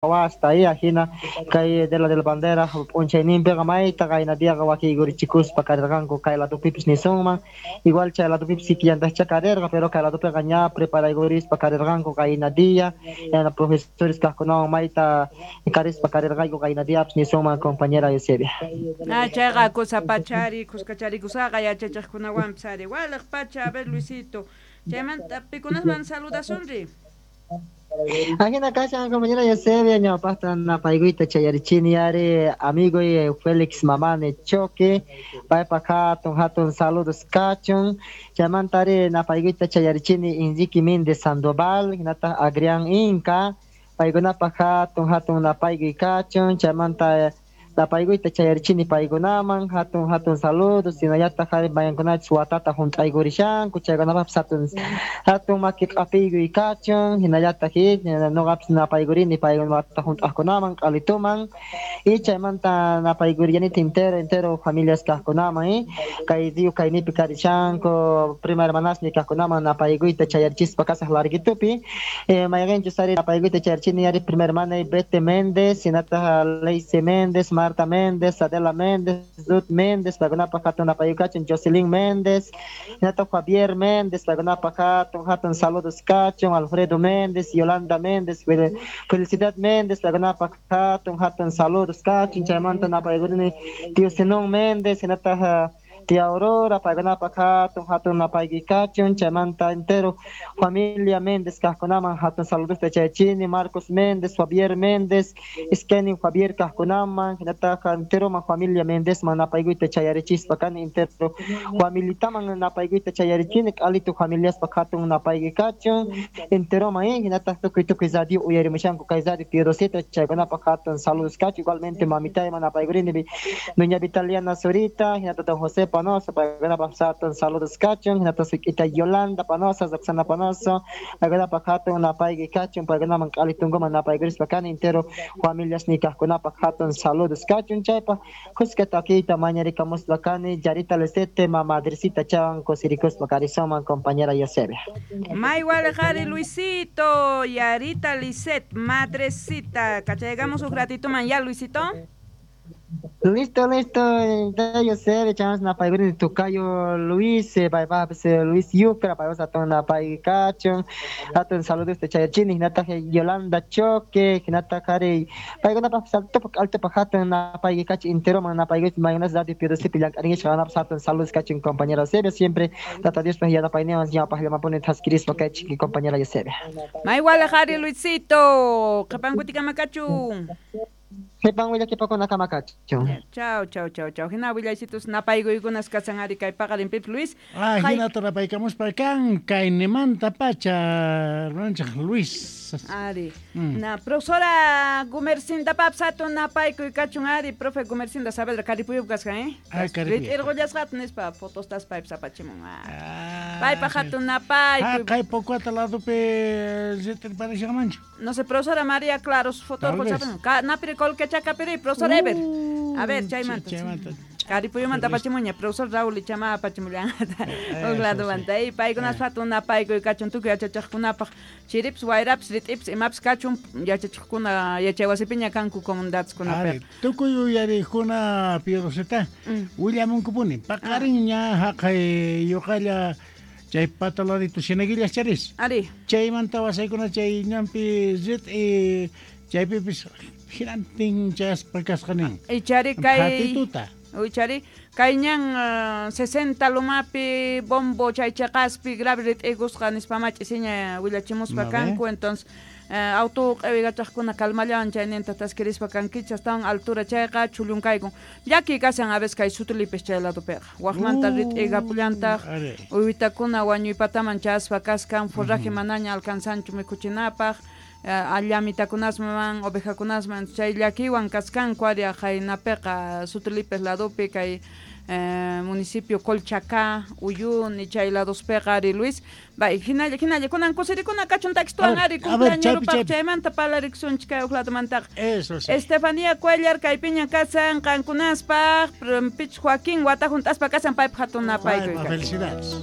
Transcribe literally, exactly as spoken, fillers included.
Wasta hina kay de la del bandera p'unchayninpiqa mayta qaynadiaqa wakiykurichikuspa karirqanku kay ladupipis nisunman igual chay ladupipis kikillantaqcha karirqa pero kay ladupiqa ña preparaykurispa karirqanku qaynadia yana profesores kaqkunawan mayta karispa karirqayku qaynadiapis nisunman compañera Eusebia. Ah, chayqa kusa pachari kuskacharikusaqqa yachachiqkunawanpis ari waliq pacha a ver Luisito chaymanta pikunasman saludasunri. Ajina kashan compañera Eusebia ñawpaqta napaykuyta chayarichini ari amigo Félix Mamane Choque paypaq hatun hatun saludos kachun chaymanta ari napaykuyta chayarichini Enrique Méndez Sandoval hinataq Adrián Inca paykunapaq hatun hatun napaykuy kachun chaymanta napaykuyta chayarichini paykunaman hatun hatun saludos hinallataq ari mayankunachis watata hunt'aykurishanku chaykunapaqpis hatun hatun maki q'apiykuy kachun hinallataq nuqapis napaykurini paykuna wata hunt'aqkunaman q'alituman y chaymanta napaykuriyanita entero entero familias kaqkunaman kay diu kaynipi karishanku prima hermanasni kaqkunaman napaykuyta chayarichispa kasaq larguitupi mayqinchus ari napaykuyta chayarichini ari prima hermana Bete Méndez hinataq Leice Méndez Marta Méndez, Adela Méndez, Ruth Méndez, paykunapaq hatun napaykuy Jocelyn Méndez, hinataq Javier Méndez, paykunapaq hatun hatun saludos kachun, Alfredo Méndez, Yolanda Méndez, Felicidad Méndez, paykunapaq hatun hatun saludos kachun, chaymanta napaykurini tío Zenón Méndez, hinataq tía Aurora, paykunapaq hatun hatun napaykuy kachun, chaymanta entero familia Méndez kaqkunaman hatun saludos chayachini, Marcos Méndez, Javier Méndez, Skenin Javier kaqkunaman, hinataq enteroman familia Méndezman napaykuyta chayarichispa kani entero familitaman napaykuyta chayarichini, q'alitu familiaspaq hatun napaykuy kachun, enteroman hinataq tukuy tukuy radio uyarimushanku kay radio Piedrosita chaykunapaq hatun saludos kachun, igualmente mamitayman napaykurini doña Vitaliana Zurita, hinataq don José Panoso, paykunapaq hatun saludos kachun, hinataq suk'ita Yolanda Panosa, Roxana Panoso, paykunapaq hatun napaykuy kachun, paykunaman q'alitunkuman napaykurispa kani entero familias nikaqkunapaq hatun saludos kachun, chaypaq kuska takiyta mañarikamuspa kani Yarita Lisette, mamadrecita chawan kusirikuspa karisunman compañera Eusebia. May waliq ari Luisito, Yarita Lisette, madrecita, kachaykamus huk ratituman ya Luisito. Listo, listo, Eusebia, chamas napaykurini tukayo Luis, paypaqpis Luis Yucra, paypas hatun napaykuy kachun, hatun saludos chayachini, hinataq Yolanda Choque, hinataq ari paykunapaqpis altopaq altopaq hatun napaykuy kachun, enteroman napaykuy mayunas radio Piedrosipi llank'arinchik qanapis hatun saludos kachun compañera Eusebia, siempre tata Diospaq yanapayninwan ñawpaqllamapuni thaskirispa kaychik compañera Eusebia. May waliq ari Luisito, qhipankutikama kachun. Qhipan willakipakuna kama kachun. Chau, chau, chau, chau. Hina willaysitus napaykuykunas kasan ari kay paqarinpipis Luis. Ah, hinata napaykamuspa kan kaynimanta pacha hermananchik Luis. Ari. Mm. Na profesora Gumercinda papis hatun napaykuy kachun ari profe Gumercinda Saavedra Karipuyup kasqa, eh? Ah, Karipuyup. Rit'irqullasqata nispa fotostas paypis apachimun. Ah. Paypaq hatun napaykuy. Ah, kay Pocuata ladupi rit'irparishanmanchu. No sé, profesora María Claros foto napiri kolquechacapiri, profesor Ever. A ver, chaymanta. Chaymanta. Karipuyumanta apachimuña, profesor Raúl ichama apachimullanta. Huk ladumanta. Y paykunas hatun napaykuy kachun tukuy yachachiqkunapaq chiripis, wayrapis, rit'ipis, imapis kachun yachachiqkuna yachaywasipiña kanku comunidadeskunapiqa. Tukuy uyariqkuna Piedrosita willamunkupuni. Paqarinña haqay yuqalla chay pataladito Cieneguillas charis. Ari. Chaymanta wasaykuna chay ñanpi rit'i chaypipis hinantin chayaspa kasqa nin. Ichari kay Hatituta. Ichari kay ñan uh, sesenta lumapi bombo chay cheqaspi grave rit'ikusqa nispa mach'isiña willachimuspa kanku, entonces uh, auto q'iwikachaqkuna calmallawan chayninta taskirispa kankichik astawan altura chayqa chullunkayku llaki kashan a veces kay sutulipis chay ladupiqa waqmanta rit'ikapullantaq uywitakuna wañuypataman chayaspa kaskan forraje manaña alcanzanchu mikhuchinapaq allamitakunasman ovejakunasman chay llakiwan kaskanku ari aqaynapiqa Sutulipes ladupi kay eh, municipio Colchacá, Uyuni chay ladospiqa ari Luis bay hinalla hinalla kunan kusirikuna kachun takituan ari cumpleañeropaq chaymanta parlarikusunchik kay huk ladumantaqa. Eso sí. Estefanía Cuellar kaypiña kasan qankunaspaq Pich Joaquín wata hunt'aspa kasan paypaq hatun napaykuy. Felicidades.